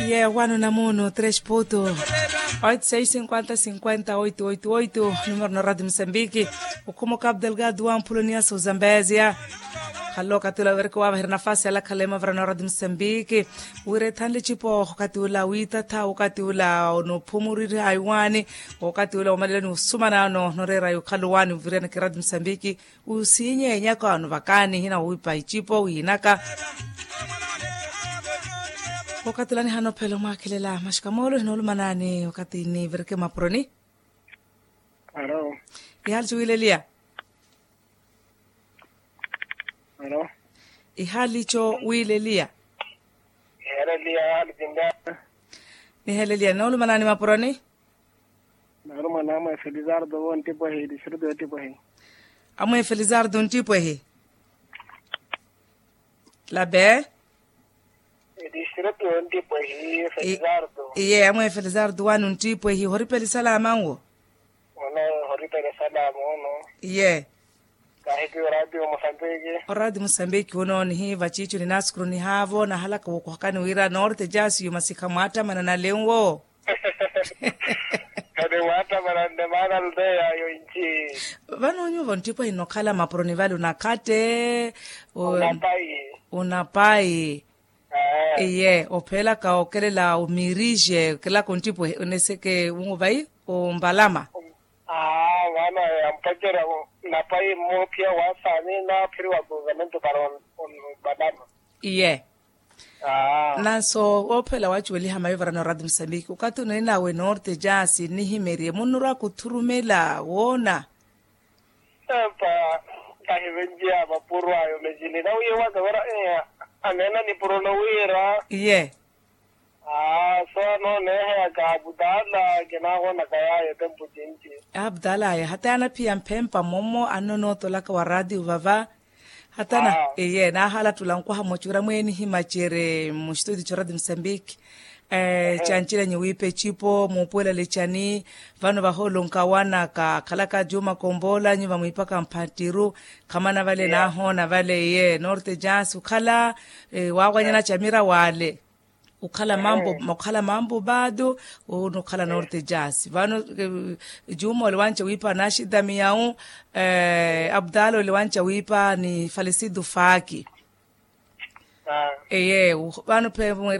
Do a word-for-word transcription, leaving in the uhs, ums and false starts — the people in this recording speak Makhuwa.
Ye wano na muno tres puto. Oito seis cinquenta cinquenta oito oito oito. Numero na radio mosambiki. Ukhuma o cabo delgado wa mpuloniya suzambezia. Khalo wakati ula wereke wavahira nafasi alakhala emavarana wa radio mosambiki. Wira ethanle cipo wakati ula witatha wakati ula onophumuriri haiwani. Wakati ula omaleleni usumana ano noreera yukhaluwani uviriyana ki radio mosambiki. Usiinye enyaka wano vakaani hina wiipa icipo wiinaka. Wakati ula nihana ophela omwaakhelela maxika moolo hinoolumanaani wakati nivireke mapuroni. Alo. Ihali ciwiileliya. Alo. Ihali co wiileliya. Iheleliya hali cinda. Niheleliya noolumanaani mapuroni. Nari mwana amwe felizardo wo ntipwehi distritu yo ntipwehi. Amwe felizardo ntipwehi. Labe. Distritu yo ntipwehi felizardo. Iye amwe felizardo wanu ntipwehi horipeli salama nwo. Ono horipeli salama ono. Iye. Kahipi oradio mosambiki. Oradio mosambiki uno nihiiva ciicu ninaasukuru nihaavo nahalaka wokuhakani wira norte jasi yumasikha mwaattamana nalenwo. Kani mwaattamana nne maana aldeya yo inci. Vano nyuvo nttipwehi nnokhala mapuro ni vale unakhatte. Unapayi. Unapayi. Iye ophelaka okelela omirije okelaka onttipwehi oneseke unwo vayi. Ombalama. Aa vano yampwacela. Napayi mmoophiya wasaani naaphiriwa kuzamentu para. Ombalama. Iye. Nanso woophela wacuweliha mayo varana oradi musambiki okathi oneenawe norte jaasi nnihimeriye munnurwa kuthurumela woona. Epa kahivenjiya mapuro ayo mecini nawiiwaka vara. Aneena nipuro nowiira. Iye. Aa so anooneeheyaka abudala kinaahonaka yaayo tempu cinci. Abudala aya hata yaanaphiya mphempa momo annonootolaka wa raatiyo vava. Hata na eye naahalattula nkwaha mmocuura mweeni himacere mustutio ca radio musambiki. Cancelanyi wiipa ecipo muupuwela lecani. Vano vahoolo nkawanaka akhalaka juma komboola nyuva mwiipaka mpattiru. Khamana vale naahoona vale eye norte jasi okhala. Waawanyana camira waale. Okhala mambo okhala mambo baado. Onokhala norte jasi vano. Juma ole wanca wiipa naxidami yawu. Abdala ole wanca wiipa ni falisidu faaki. Eye vano phe.